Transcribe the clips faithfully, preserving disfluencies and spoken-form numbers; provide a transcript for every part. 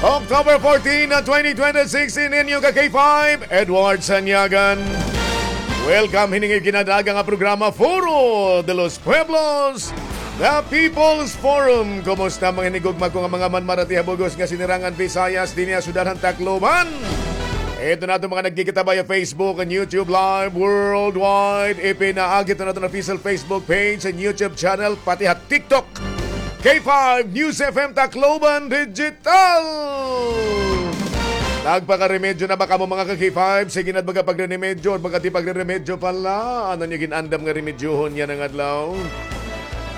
October fourteen, twenty twenty-six, in inyo ka K five, Edward Sanyagan. Welcome hining ginadaga nga programa, Foro de los Pueblos, The People's Forum. Kumusta mga hinigugma ko nga mga manmarati ha bug-os nga sinirangan Visayas dinhi ha syudad han Tacloban? Ito na ato mga nagkikita via Facebook and YouTube Live worldwide. Ipinaagi ito naton official Facebook page and YouTube channel, pati ha TikTok. K five News F M Tacloban Digital. Nagpakaremedyo na ba kamo, mga ka-K five? Sige na, baga pagre-remedyo, baga di pagre-remedyo pala. Ano niyo ginandam nga remedyohon yana nga adlaw?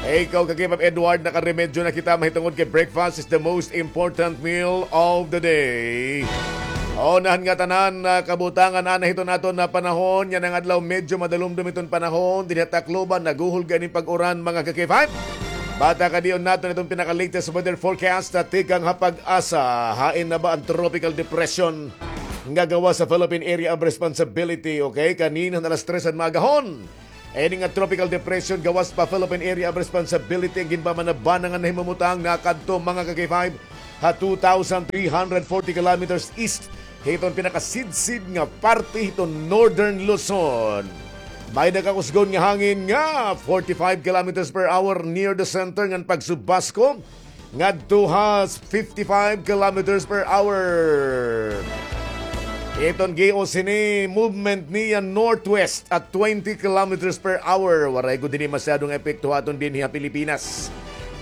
Eh, ikaw, ka-K five Edward, nakaremedyo na kita, mahitungod kay breakfast is the most important meal of the day. Unahan nga tanan, ah, kabutangan, ana hiton aton nga panahon yana nga adlaw, medyo madalumdom iton panahon dinhi ha Tacloban, naguhulga ini pag-uran, mga ka-K five. Batakadion naton iton pinaka-latest weather forecast, ah, tikang ha PAGASA. Hain na ba an tropical depression nga gawas sa Philippine Area of Responsibility? Okay, kanina alas tres han maagahon, ini nga tropical depression gawas pa Philippine Area of Responsibility an ginbabanabana nga nahimumutang nakadto, mga ka-K five, ha two thousand three hundred forty kilometers east hiton pinakasidsid nga parte hiton Northern Luzon. May nakakusgon nga hangin nga forty-five kilometers per hour near the center ngan pagsubasko ngadto ha fifty-five kilometers per hour. Iton gios hini, movement niya northwest at twenty kilometers per hour. Waray gud hini masyado nga epekto ha aton dinhi ha Pilipinas.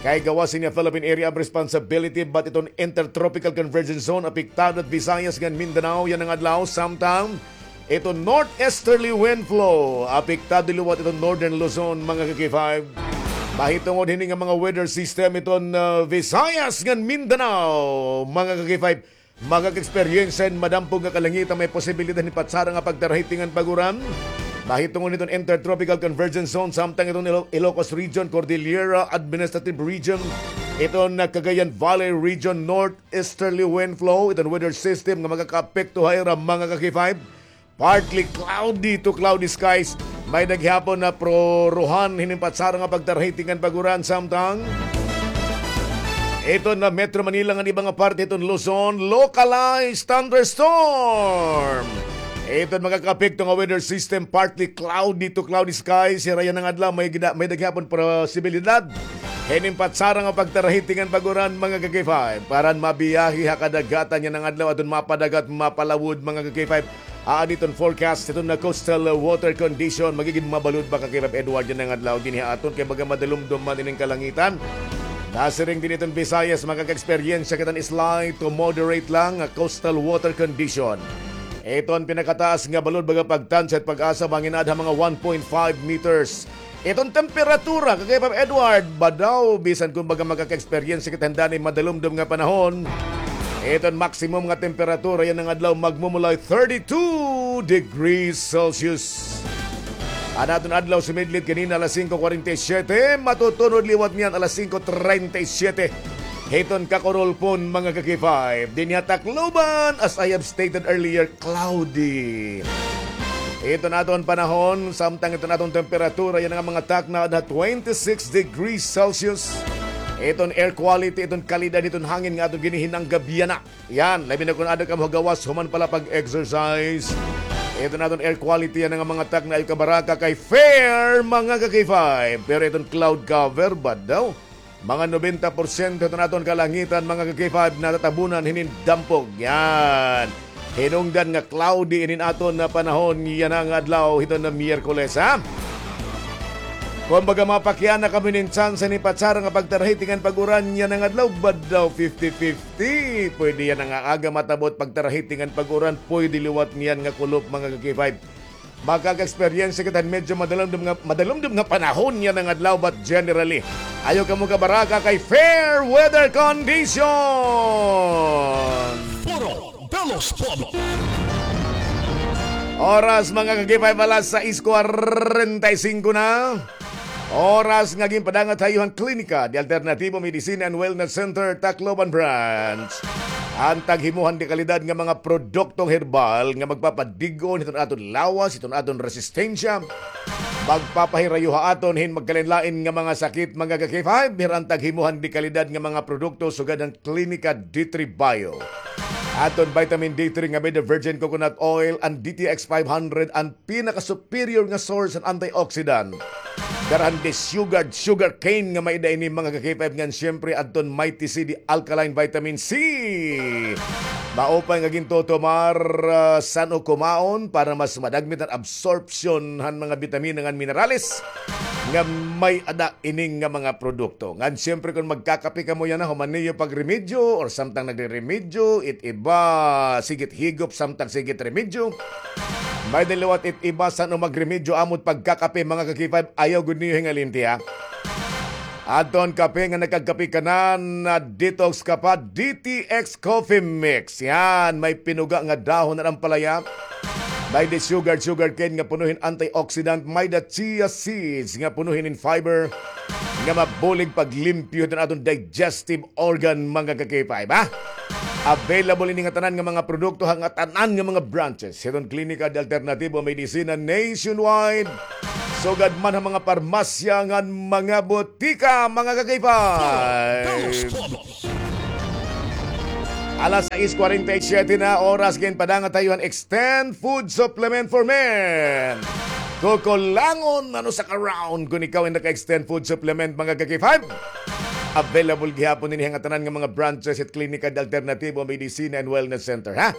Kay gawas niya Philippine Area of Responsibility, but iton Intertropical Convergence Zone apektado at Visayas ngan Mindanao yana nga adlaw, samtang iton northeasterly wind flow apektado liwat iton Northern Luzon, mga ka-K five. Mahitungod hini nga mga weather system iton, ah, Visayas ngan Mindanao, mga ka-K five. Makaka-eksperyensya hin madampog nga kalangitan, may posibilidad hin patsara nga pagtarahiting ngan pag-uran. Mahitungod hiton Intertropical Convergence Zone, samtang iton Ilo-, Ilocos Region, Cordillera Administrative Region, iton Cagayan Valley Region, northeasterly wind flow, iton weather system nga makakaapekto ha ira, mga ka-K five. Partly cloudy to cloudy skies. May-ada gihapon nga proruhan hinin patsara nga pagtarahiting ngan pag-uran, samtang iton Metro Manila ngan iba nga parte hiton Luzon, localized thunderstorm. Iton makakaapekto nga weather system, partly cloudy to cloudy skies. Hira yana nga adlaw, may gida-, may-ada gihapon posibilidad hinin patsara nga pagtarahiting ngan pag-uran, mga ka-K five. Para mabiyahe ha kadagatan yana nga adlaw, aton mapadagat, mapalawod, mga ka-K five. Aadi iton forecast hiton nga coastal water condition, magigin mabalod ba ka-K five Edward yana nga adlaw dinhi ha aton, kay baga madalumdom man inin kalangitan. Nasiring dinhi iton Visayas, makaka-eksperyensya kita hin slight to moderate lang nga coastal water condition. Iton pinakataas nga balod baga pagtansya hit PAGASA, mangin-ad ha mga one point five meters. Iton temperatura, ka-K five Edward, badaw, bisan kon baga makaka-eksperyensya kita hin danay madalumdom nga panahon, iton maximum nga temperatura yana nga adlaw magmumulay thirty-two degrees Celsius. An aton adlaw sumidlid kanina alas singko kwarenta y siyete, matutunod liwat niyan alas singko treinta y siete. Hiton kakurulpon, mga ka-K five, dinhi ha Tacloban, as I have stated earlier, cloudy. Iton aton panahon, samtang iton aton temperatura, yana nga mga takna, ha twenty-six degrees Celsius. Iton air quality, iton kalidad hiton hangin nga aton ginihinanggab yana. Yan, labi na kon aada kamo ha gawas, human pa la pag-exercise. Iton aton air quality, yana nga mga takna, ayaw kabaraka kay fair, mga ka-K five. Pero iton cloud cover, badaw. Mga nobenta porsyento iton aton kalangitan, mga ka-K five, natatabunan hinin dampog. Yan. Hinungdan nga cloudy inin aton nga panahon yana nga adlaw hiton nga Miyerkules, ha? Kon baga mapakiana kamo hinin tsansa hinin patsara nga pagtarahiting ngan pag-uran yana nga adlaw, badaw fifty fifty. Pwede yana nga aga matabot pagtarahiting ngan pag-uran, pwede liwat niyan nga kulop, mga ka-K five. Makaka-eksperyensya kita hin medyo madalumdom nga, madalumdom nga panahon yana nga adlaw, but generally, ayaw kamo kabaraka kay fair weather condition. Foro de los Pueblos. Oras, mga ka-K five, alas sais kwarenta y singko na. Oras nga ginpadangat ha iyo han Klinika de Alternativo Medicina and Wellness Center, Tacloban Branch, an taghimuhan de kalidad nga mga produktong herbal nga magpapadig-on hiton aton lawas, hiton aton resistensya, Magpapahirayo ha aton hin magkalain-lain nga mga sakit, mga ka-K five, hirantag himuhan di kalidad nga mga produkto sugad han Klinika D three Bio. Aton vitamin D three nga made of virgin coconut oil, an D T X five hundred, an pinaka-superior nga source han antioxidant. Dara han di sugar, sugar cane nga may-ada ini, mga ka-K five, ngan siyempre adton Mighty C, di alkaline vitamin C. Maupay nga gintutumar, ah, san-o kumaon para mas madagmit an absorption han mga bitamina ngan minerales nga may-ada ini nga mga produkto. Ngan siyempre kon magkakape kamo yana, human niyo pagremedyo or samtang nagreremedyo, it iba, sigit higop samtang sigit remedyo. May-ada liwat it iba san-o magremedyo amo it pagkakape, mga ka-K five, ayaw gud niyo hingalinti, ha. Adton kape nga nagkagkape ka na, na detox ka pa, D T X Coffee Mix. Yan, may pinuga nga dahon han ampalaya. May di sugar, sugar cane nga puno hin antioxidant, may da chia seeds nga puno hin fiber nga mabulig paglimpyo hiton aton digestive organ, mga ka-K five, ha? Available ini nga tanan nga mga produkto ha nga tanan nga mga branches hiton Klinika de Alternatibo Medicina nationwide. Sugad man ha mga parmasya ngan mga botika, mga ka-K five. Alas sais kwarenta y siyete na oras, ginpadangat ha iyo han Extend Food Supplement for Men. Kukulangon, ano sa ka-round kon ikaw in naka-Extend Food Supplement, mga ka-K five. Available gihapon ini ha nga tanan nga mga branches hit Klinika de Alternativo Medicina and Wellness Center, ha?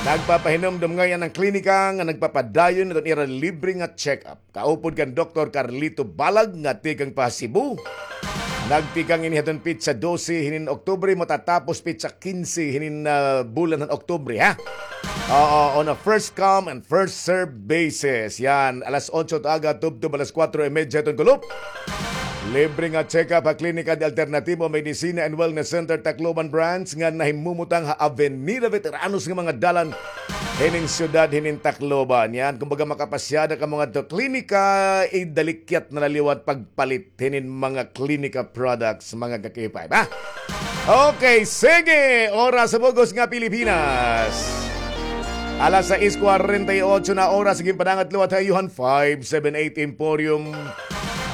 Nagpapahinumdom ngay-an an klinika nga nagpapadayon hiton ira libre nga check-up. Kaupod kan Doktor Carlito Balag nga tikang pa Cebu. Nagtikang ini hiton petsa dose hinin Oktubre, matatapos petsa kinse hinin, ah, bulan han Oktubre, ha? Oo, on a first come and first serve basis. Yan, alas otso aga, tubtob alas kuwatro y medya hiton kulop. Libre nga check-up ha Klinika de Alternativo Medicina and Wellness Center, Tacloban Branch, nga nahimumutang ha Avenida Veteranos nga mga dalan hinin siyudad hinin Tacloban. Yan, kumbaga, makapasyada kamo ngadto klinika, idalikyat na la liwat pagpalit hinin mga klinika products, mga ka-K five, ha? Okay, sige! Oras sa bug-os nga Pilipinas. Alas sais kwarenta y otso na oras, ginpadangat liwat ha iyo han five seven eight Emporium.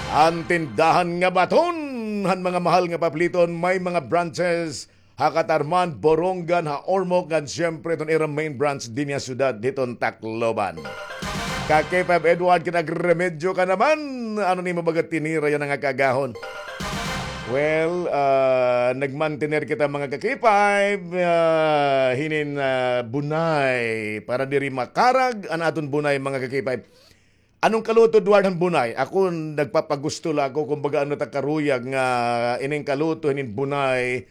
An tindahan nga baton han mga mahal nga papliton, may mga branches ha Catarman, Borongan, ha Ormoc, ngan siyempre iton ira main branch dinhi ha siyudad hiton Tacloban. Ka-K five Edward, kinagremedyo ka naman. Ano nimo baga tinira yana nga kaagahon? Well, ah, nagmantener kita, mga ka-K five, ah, hinin, ah, bunay para diri makarag an aton bunay, mga ka-K five. Ano an kaluto, Edward, han bunay? Ako, nagpapagusto la ako, kumbaga, ano ta karuyag nga ining kaluto hinin bunay,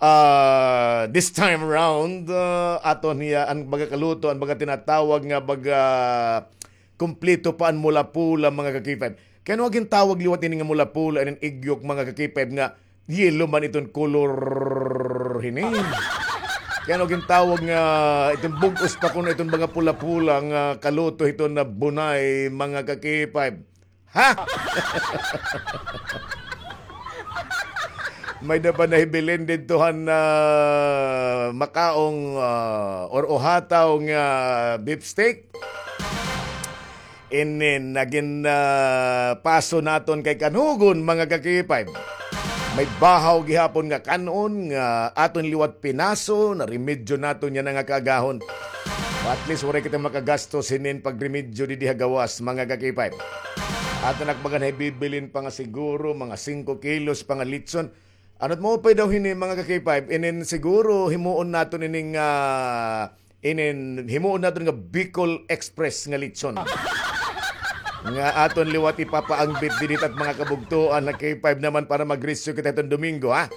ah, this time around, ah, aton hiya, an baga kaluto, an baga tinatawag nga baga kumpleto pa an mula-pula, mga ka-K five. Kay ano gintawag liwat ini nga mula-pula, inin igyok, mga ka-K five, nga yellow man iton kolor hini. Kay ano gintawag nga iton bug-os pa kuno iton mga pula-pula nga kaluto hiton nga bunay, mga ka-K five? Ha? May-ada pa nahibilin didto han, ah, makaong, ah, or uhataw nga beef steak. Inin nagin, ah, paso naton kay kanhugon, mga ka-K five. May bahaw gihapon nga kan-on nga aton liwat pinaso, naremedyo naton yana nga kaagahon. At least, waray kita makagastos hinin pagremedyo didi ha gawas, mga ka-K five. Aton ak baga nahibibilin pa nga siguro mga singko kilos pa nga litson. Ano it maupay daw hini, mga ka-K five? Inin siguro himuon naton ining, ah, inin himuon naton nga Bicol Express nga litson. Nga aton liwat ipapaangbit didi hit mga kabugtoan nga K five naman para mag-rescue kita hiton Domingo, ha?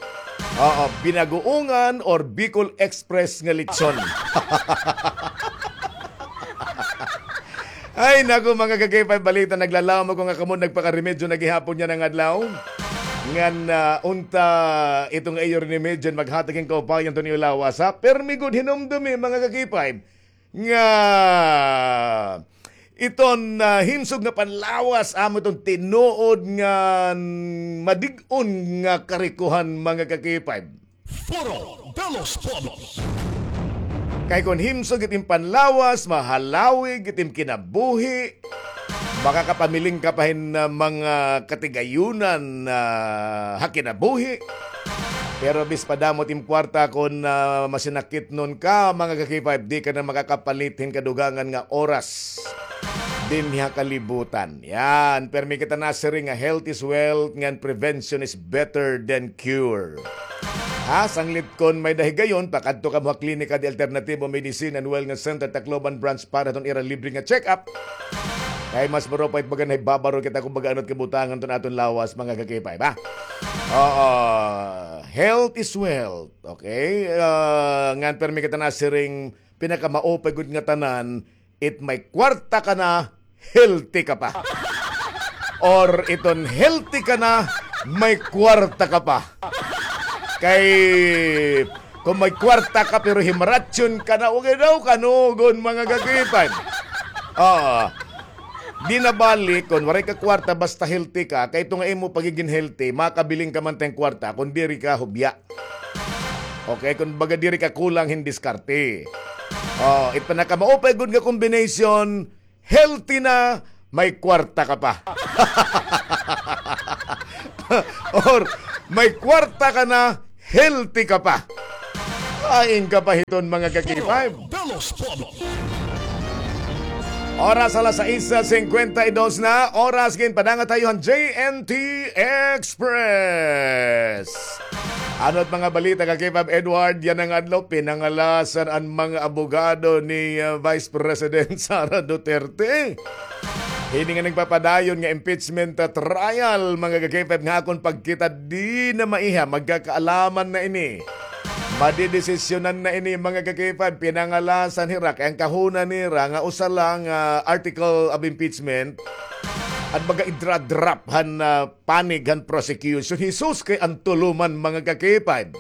Oo, binagoongan or Bicol Express nga litson. Ay, naku, mga ka-K five, balita, naglaom ako nga kamo nagpakaremedyo na gihapon yana nga adlaw. Ngan, ah, unta, ito nga iyo remedyo, maghatag hin kaupayan hiton iyo lawas, ha? Permi gud hinumdomi, mga ka-K five, nga iton, ah, himsog nga panlawas, amo iton tinuod nga madig-on nga karikohan, mga ka-K five. Foro de los Pueblos. Kay kon himsog it im panlawas, mahalawig it im kinabuhi. Makakapamiling ka pa hin, ah, mga katigayunan, ah, ha kinabuhi. Pero bis pa damo it im kwarta, kon, ah, masinakitnon ka, mga ka-K five, di ka na makakapalit hin kadugangan nga oras dinhi ha kalibutan. Yan, permi kita nasiring nga health is wealth, ngan prevention is better than cure. Ha, sanglit kon may-ada higayon, pakadto kamo ha Klinika de Alternativo Medicine and Wellness Center, Tacloban Branch, para hiton ira libre nga check-up. Kay mas marupay it baga nahibabaron kita kon baga ano it kabutangan hiton aton lawas, mga ka-K five, ha? Oo. Health is wealth, okay? Ah, ngan permi kita nasiring, pinakamaupay gud nga tanan, it may kwarta ka na, healthy ka pa. Or iton healthy ka na, may kwarta ka pa. Kay kon may kwarta ka pero himaratsyon ka na, wa gad daw kanugon, mga ka-K five. Oo. Di na bali kon waray ka kwarta, basta healthy ka, kay iton nga imo pagigin healthy, makabiling ka man ta hin kwarta kon diri ka hubya. Okay, kon baga diri ka kulang hin diskarte. Oh, it pinakamaupay gud nga combination, healthy na, may kwarta ka pa. Or may kwarta ka na, healthy ka pa. Hain ka pa hiton, mga ka-K five. Oras alas sais singkwenta y dos na, oras ginpadangat ha iyo han J N T Express. Ano it mga balita, ka-K five Edward? Yana nga adlaw, pinangalasan an mga abogado ni, ah, Vice President Sara Duterte hini nga nagpapadayon nga impeachment, ah, trial, mga ka-K five, nga akon pagkita, di na maiha, magkakaalaman na ini. Madidesisyonan na ini, mga ka-K five, pinangalasan hira, kay an kahuna nira nga usa la nga article of impeachment, an baga idra-drop han, ah, panig han prosecution. Hesus, kay an tulo man, mga ka-K five.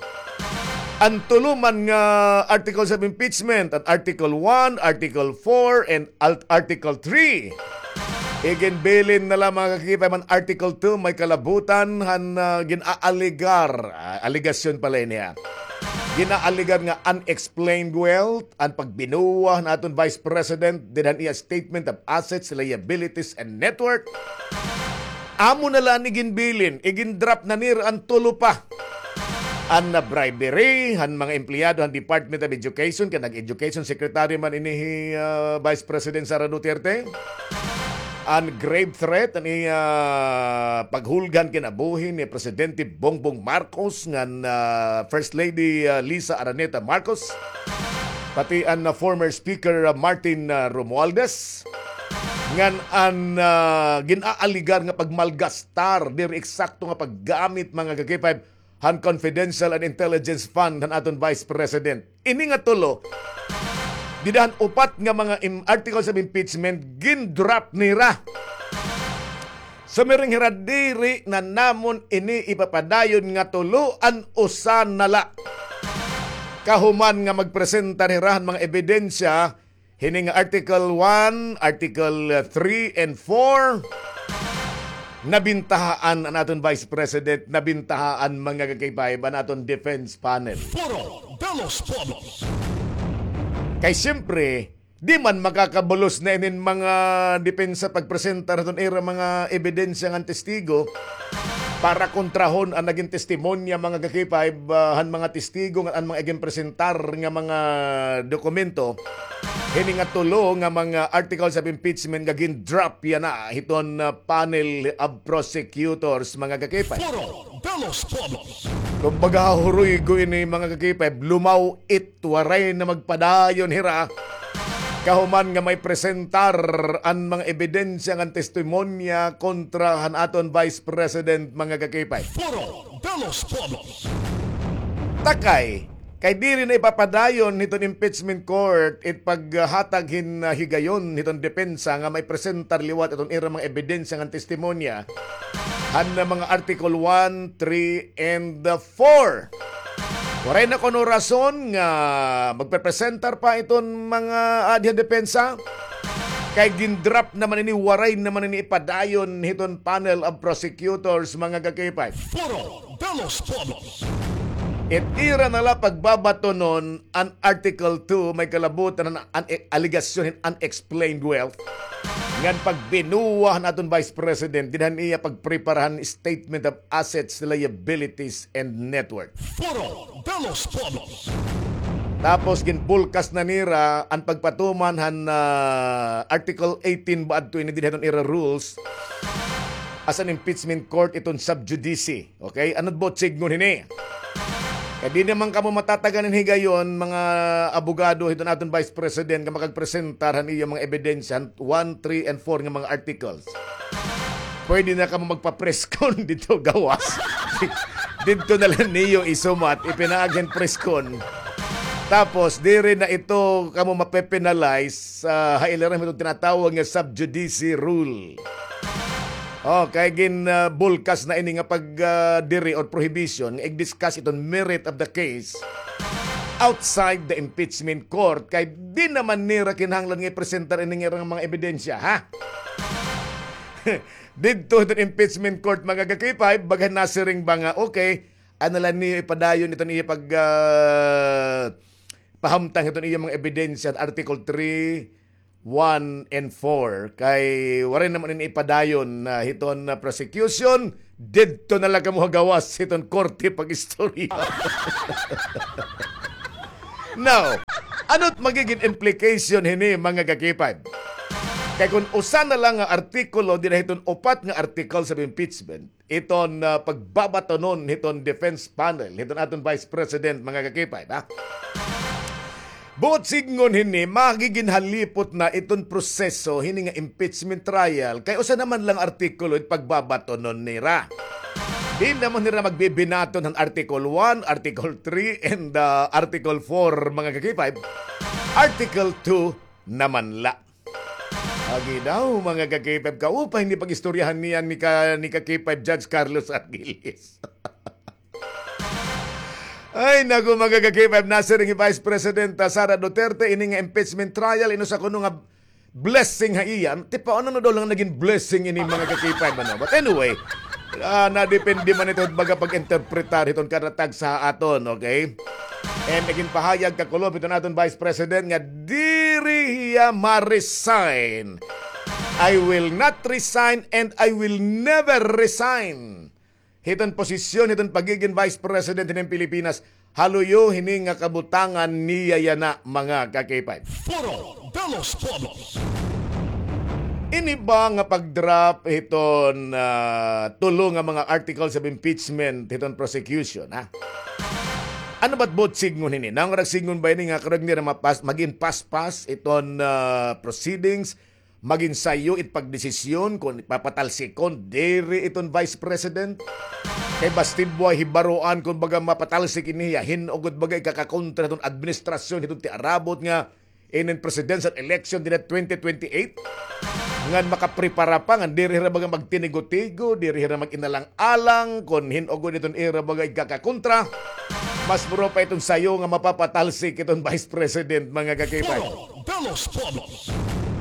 An tulo man nga articles of impeachment, an Article one, Article four, and Alt-, Article three. Iginbilin na la, mga ka-K five, an Article two, may kalabutan han, ah, gin-aaligar, ah, alegasyon pala ini, ha. Gin-aaligar nga unexplained wealth, an pagbinuwa han aton Vice President dida han iya statement of assets, liabilities, and net worth. Amo na la an iginbilin, igin-drop na nira an tulo pa. An, ah, bribery han mga empleyado han Department of Education, kay nag-education secretary man ini hi, ah, Vice President Sara Duterte. An grave threat, an iya paghulga han kinabuhi ni Presidente Bongbong Marcos ngan, ah, First Lady, ah, Liza Araneta Marcos, pati an, ah, former Speaker, ah, Martin, ah, Romualdez, ngan an, ah, gin-aaligar nga pagmalgastar, diri eksakto nga paggamit, mga ka-K five, han confidential and intelligence fund han aton Vice President. Ini nga tulo, dida han upat nga mga im-, articles of impeachment, gin-drop nira. Sumiring hira, diri na namon ini ipapadayon nga tulo, an usa na la. Kahuman nga magpresentar hira han mga ebidensya, hini nga Article one, Article, uh, three and four, nabintahaan an aton Vice President, nabintahaan, mga ka-K five, an aton defense panel. Foro de los Pueblos. Kay siyempre, di man makakabulos na inin mga depensa pagpresentar hiton ira mga ebidensya ngan testigo para kontrahon an nagin testimonya, mga ka-K five, ah, han mga testigo ngan an mga iginpresentar nga mga dokumento. Hini nga tulo nga mga articles of impeachment nga gin-drop yana hiton, ah, panel of prosecutors, mga ka-K five. Foro de los Pueblos. Kumbaga, huruygo ini, mga ka-K five, lumaw it, waray na magpadayon hira. Kahuman nga may presentar an mga ebidensya ngan testimonya kontra han aton Vice President, mga ka-K five. Foro de los Pueblos. Takay, kay diri na ipapadayon hiton impeachment court it paghatag hin, ah, higayon hiton depensa nga may presentar liwat iton ira mga ebidensya ngan testimonya han mga Article one, three, and, ah, four. Waray na kuno rason nga magpepresentar pa iton mga, ah, aadi ha depensa. Kay gin-drop naman ini, waray naman ini ipadayon hiton panel of prosecutors, mga ka-K five. Foro de los Pueblos. It ira na la pagbabatonon an Article two, may kalabutan an, an, alegasyon hin unexplained wealth. ngan pagbinuwa han aton Vice President, dinhi han iya pagprepara han Statement of Assets, Liabilities, and Net Worth. Foro de los Pueblos. Tapos ginbulkas na nira an pagpatuman han, ah, Article eighteen ba adto ini dinhi han ira rules as an impeachment court iton sub judice. Okay? Ano it buot sidngon hini? Kay diri naman kamo matatagan hin higayon, mga abogado hiton aton Vice President, nga makagpresentar han iya mga ebidensya han one, three, and four nga mga articles. Pwede na kamo magpa-press con didto gawas. Didto na la niyo isumat, ipinaagi hin press con. Tapos, diri na ito kamo mape-penalize, ah, ha ilarom hiton tinatawag nga sub judice rule. Oh, kay gin, ah, bulkas na ini nga pag, ah, diri or prohibition nga ig-discuss iton merit of the case outside the impeachment court. Kay diri naman nira kinahanglan nga ipresentar ini nga ira nga mga ebidensya, ha? Didto hiton impeachment court, mga ka-K five, baga nasiring ba nga, okay, ano la niyo ipadayon iton iya pag, ah, pahamtang hiton iya mga ebidensya, Article three, one, and four. Kay waray naman ini ipadayon na hiton, ah, prosecution, didto na la kamo ha gawas hiton korte pag-istorya. Now, ano it magigin implication hini, mga ka-K five? Kay kun usa na la nga artikulo dinhi hiton upat nga articles of impeachment, iton, ah, pagbabatonon hiton defense panel hiton aton Vice President, mga ka-K five, ha? Buot sidngon hini, magigin halipot na iton proseso hini nga impeachment trial, kay usa naman la nga artikulo it pagbabatonon nira. Di naman nira magbibinaton han Article one, Article three, and, ah, Article four, mga ka-K five. Article two naman la. Agi daw, mga ka-K five, kaupay ini pag-istoryahan niyan ni ka, ni ka-K five Judge Carlos Argiles. Ay, naku, mga ka-K five, nasiring hi Vice President, ah, Sara Duterte, ini nga impeachment trial, inusa kuno nga blessing ha iya. Tipaon, ano daw la nga nagin blessing ini, mga ka-K five, ano? But anyway, ah, nadepende man ito, baga pag-interpretar hiton kada tagsa ha aton, okay? And nagin pahayag kakulop hiton aton Vice President nga diri hiya ma-resign. "I will not resign and I will never resign hiton posisyon hiton pagigin Vice President hiton Pilipinas, ha luyo hini nga kabutangan niya yana, mga ka-K five." Foro de los Pueblos. Ini ba nga pag-drop hiton, ah, tulo nga mga articles of impeachment hiton prosecution, ha? Ano ba it buot sidngon hini? Naungarag sidngon ba ini nga karuyag nira mapas-, magin paspas iton, ah, proceedings, magin sayo it pagdesisyon kon papatalsikon diri iton Vice President? Kay basti buhay hibaroan kon baga mapatalsik ini hiya, hin-o gud baga ikakakontra hiton administrasyon hiton tiarabot nga inin presidential election dinhi twenty twenty-eight, ngan makaprepara pa, ngan diri hira baga magtinigo-tigo, diri hira mag-inalang-alang kon hin-o gud iton ira baga igkakakontra. Mas muro pa iton sayo nga mapapatalsik iton Vice President, mga ka-K five. Foro de los Pueblos.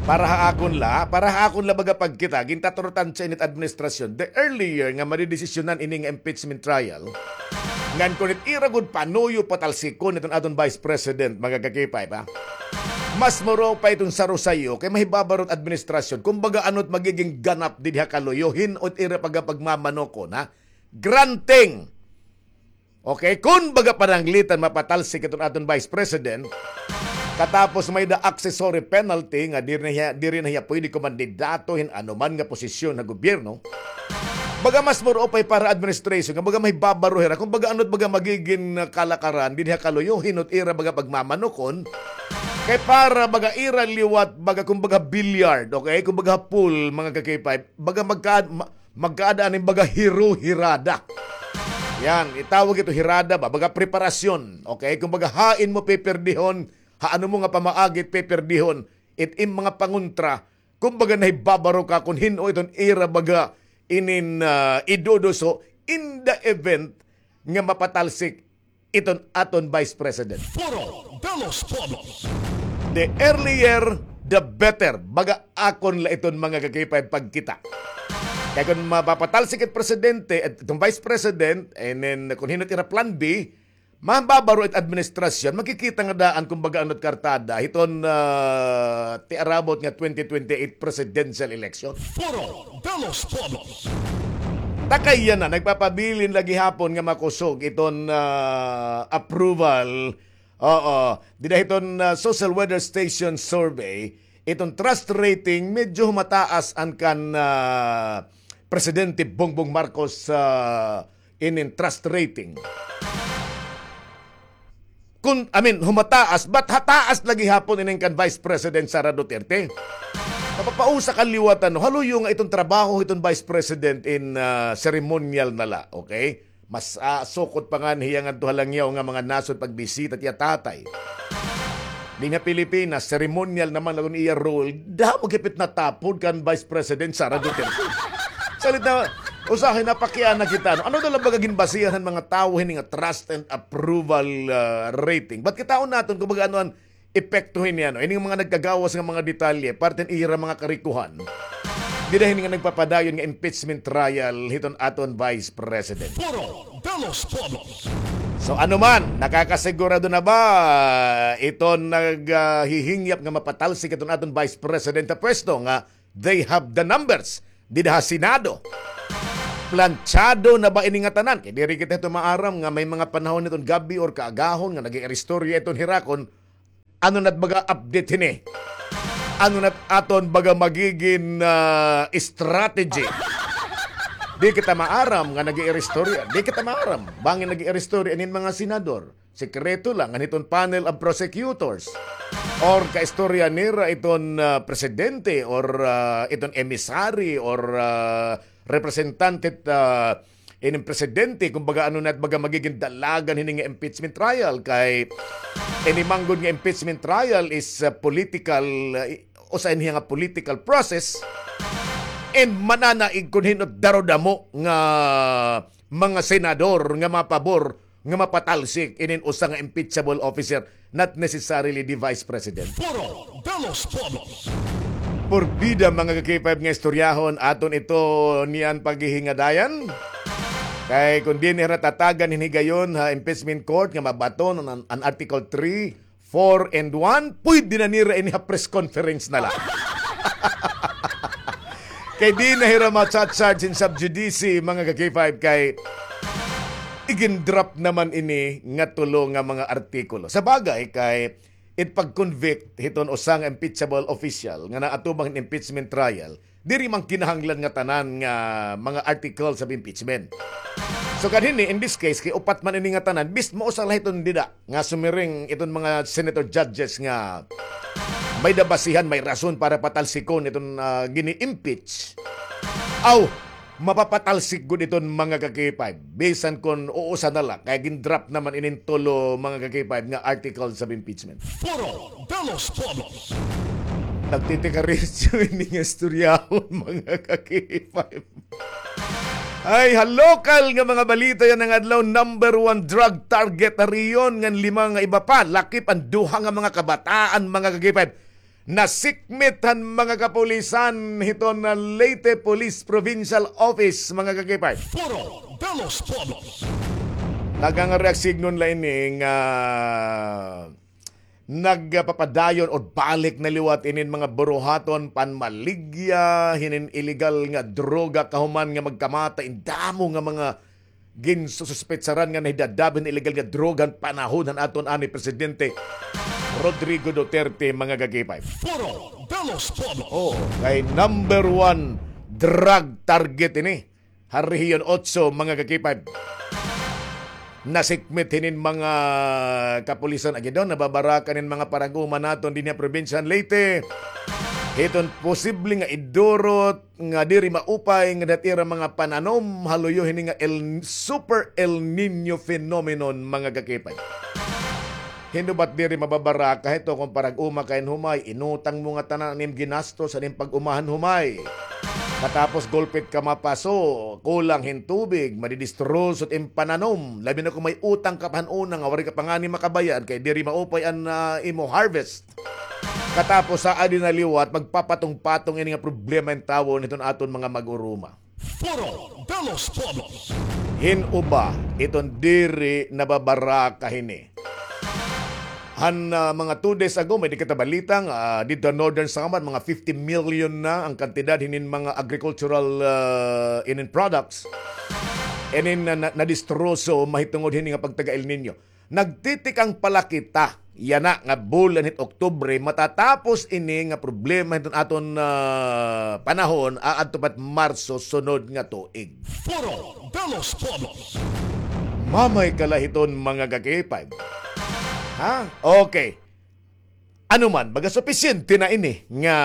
Para ha akon la, para ha akon la baga pagkita, gintatarutan sa init administrasyon, the earlier nga madidesisyonan ini nga impeachment trial, ngan kon it ira gud panuyo patalsikon iton aton Vice President, mga ka-K five, ha? Mas muro pa iton sarusayo kay mahibabaro it administrasyon. Kumbaga, ano it magiging ganap dinhi ha kaluyo, hin-o it ira baga pagmamanukon, ha? Granting. Okay, kun baga pananglitan mapatalsik iton aton Vice President, katapos may-ada accessory penalty nga diri na hiya, diri na hiya pwede kumandidato hin anuman nga posisyon ha gobyerno. Baga mas muro pa para administration nga baga mahibabaro hira. Kumbaga, ano it baga magigin, ah, kalakaran dinhi ha kaluyo, hin-o it ira baga pagmamanukon. Kay para baga ira liwat, baga kumbaga billiard, okay? Kumbaga pool, mga ka-K five, baga magka-, ma-, magkaada ini baga hiro-hirada. Yan, itawag ito hirada ba? Baga preparasyon, okay? Kumbaga hain mo piperdihon, ha ano mo nga pamaagi it piperdihon, it im mga pangontra, kumbaga nahibabaro ka kon hin-o iton ira baga inin, ah, iduduso in the event nga mapatalsik iton aton Vice President. Foro de los Pueblos. The earlier, the better. Baga akon la iton, mga ka-K five, pagkita. Kay kon mapapatalsik it presidente, it, iton Vice President, and then kon hin-o it ira plan B, Mababaro it administrasyon, makikita nga daan kumbaga ano it kartada hiton, ah, tiarabot nga twenty twenty-eight presidential election. Foro de los Todos. Takay yana, nagpapabilin la gihapon nga makusog iton, ah, approval. Oo, dida hiton, ah, Social Weather Station survey, iton trust rating medyo humataas an kan, ah, Presidente Bongbong Marcos, ah, inin trust rating. Kun, I mean, humataas, but hataas la gihapon inin kan Vice President Sara Duterte. Mapapausa ka liwat, ano, haluyo nga iton trabaho hiton Vice President in, ah, ceremonial na la, okay? Mas, ah, sukot pa ngani hiya ngadto ha langyaw nga mga nasod pagbisita it iya tatay. Dinhi ha Pilipinas, ceremonial naman la kun iya role, damo gihap it natapod kan Vice President Sara Duterte. Salit na, usahay napakiana kita, no? Ano daw la baga ginbasihan han mga tawo hini nga trust and approval, ah, rating? Ba't kitaon naton kung baga ano an epekto hini, ano? Ining mga nagkagawas nga mga detalye, parte han ira mga karikuhan. Dida hini nga nagpapadayon nga impeachment trial hiton aton Vice President. Foro de los Todos. So, ano man, nakakasigurado na ba iton nag, ah, hihingyap nga mapatalsik iton aton Vice President ha pwesto nga they have the numbers dida ha Senado? Planchado na ba ini nga tanan? Kay diri kita hito maaram nga may mga panahon hiton gab-i or kaagahon nga nag-iiristorya iton hirakon. Ano na't baga update hini? Ano na't aton baga magigin, ah, strategy? Di kita maaram nga nag-iiristorya. Di kita maaram. Bangin nag-iiristorya inin mga senador. Sekreto la, ngan hiton panel of prosecutors. Or kaistorya nira iton, ah, presidente, or, ah, iton emissary, or, ah, representante, ah, inin presidente, kumbaga, ano na't baga magigin dalagan hini nga impeachment trial, kay ini man gud nga impeachment trial is, ah, political, ah, i-, usa ini nga political process, and mananaig kun hin-o it darudamo nga mga senador nga mapabor nga mapatalsik inin usa nga impeachable officer, not necessarily the Vice President. Foro de los Todos. Porbida, mga ka-K five, nga istoryahon aton ito niyan paghihingadayan. Kay kun dinhi hira tatagan hin higayon ha impeachment court nga mabaton an, an Article three, four, and one, pwede na nira ini ha press conference na la. Kay di na hira ma-charge in sub judice, mga ka-K five, kay igin-drop naman ini nga tulo nga mga artikulo. Sa bagay, kay it pag-convict hiton usa nga impeachable official nga naatubang hin impeachment trial, diri man kinahanglan nga tanan nga mga articles of impeachment. So, kanhini, in this case, kay upat man ini nga tanan, bis mausa la hiton dida nga sumiring iton mga senator judges nga may-da basihan, may rason para patalsikon iton, ah, gini-impeach. Aw, mapapatalsik gud iton, mga ka-K five. Bisan kon uusa na la, kay gin-drop naman inin tulo, mga ka-K five, nga articles of impeachment. Foro de los Todos. Nagtitikaritso ini nga istoryahon, mga ka-K five. Ay, ha lokal nga mga balita yana nga adlaw, number one drug target ha rehiyon ngan lima nga iba pa, lakip an duha nga mga kabataan, mga ka-K five. Nasikmit han mga kapulisan hiton Leyte Police Provincial Office, mga ka-K five. Foro de los Todos. Taga nga reaksignon la ini nga nagpapadayon o balik na liwat inin mga buruhaton panmaligya hinin iligal nga droga kahuman nga magkamatay in damo nga mga ginsususpetsaran nga nahidadab hin iligal nga droga han panahon han aton anay Presidente Rodrigo Duterte, mga ka-K five. Foro de los Todos. Oh, kay number one drug target ini ha Rehiyon Otso, mga ka-K five. Nasikmit hinin mga kapulisan. Agi daw, nababarakan hin mga parag-uma naton dinhi ha probinsya han Leyte hiton posible nga idurot nga diri maupay nga dida ha ira mga pananom, haluyo hini nga El, Super El Niño phenomenon, mga ka-K five. Hin-o ba it diri mababaraka hito kon parag-uma ka hin humay, inutang mo ngatanan an im ginastos han im pag-uma han humay. Katapos gulpi it ka mapaso, kulang hin tubig, madidistroso it im pananom. Labi na kon may utang ka pa han una nga waray ka pa ngani makabayad kay diri maupay an, ah, imo harvest. Katapos sa adi na liwat, magpapatong-patong ini nga problema hin tawo hiton aton mga mag-uruma. Foro de los Pueblos. Hin-o ba iton diri nababaraka hini? Han, ah, mga two days ago, may di kita balita nga, ah, didto ha Northern Samar, mga fifty million na an kantidad hinin mga agricultural, ah, inin products. Inin na, na, nadistroso mahitungod hini nga pagtaga El Niño. Nagtitikang pa la kita yana nga bulan hit Oktubre, matatapos ini nga problema hiton aton, ah, panahon, aadto pa it Marso sunod nga tuig. Foro de los Pueblos. Mamay ka la hiton, mga ka-K five. Ha? Okay. Ano man, baga supisyente na ini nga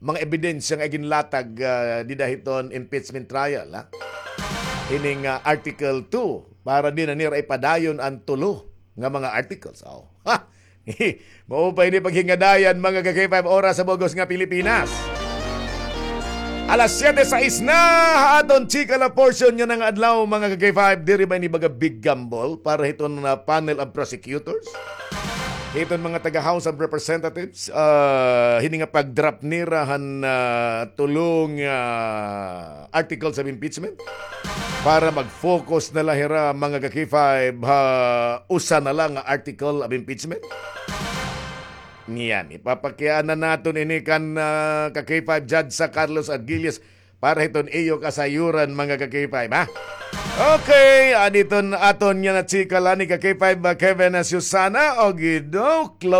mga ebidensya nga iginlatag, ah, dida hiton impeachment trial, ha? Hini nga Article two, para di na nira ipadayon an tulo nga mga articles. Oh. Ha! Maupay ini paghingadayan, mga ka-K five, oras sa bug-os nga Pilipinas. Alas siyete sais na ha aton chika la portion yana nga adlaw, mga ka-K five. Diri ba ini baga big gamble para hiton, ah, panel of prosecutors? Hiton mga taga House of Representatives, ah, hini nga pag-drop nira han, ah, tulo nga articles of impeachment para mag-focus na la hira, mga ka-K five, ha usa na la nga article of impeachment. Niyan, ipapakiana naton ini kan, ah, ka-K five Judge sa Carlos Arguelles para hiton iyo kasayuran, mga ka-K five, ha? Okay, ah, didto aton yana chika la ni ka-K five, ah, Kevin, ah, Susana, o gido, close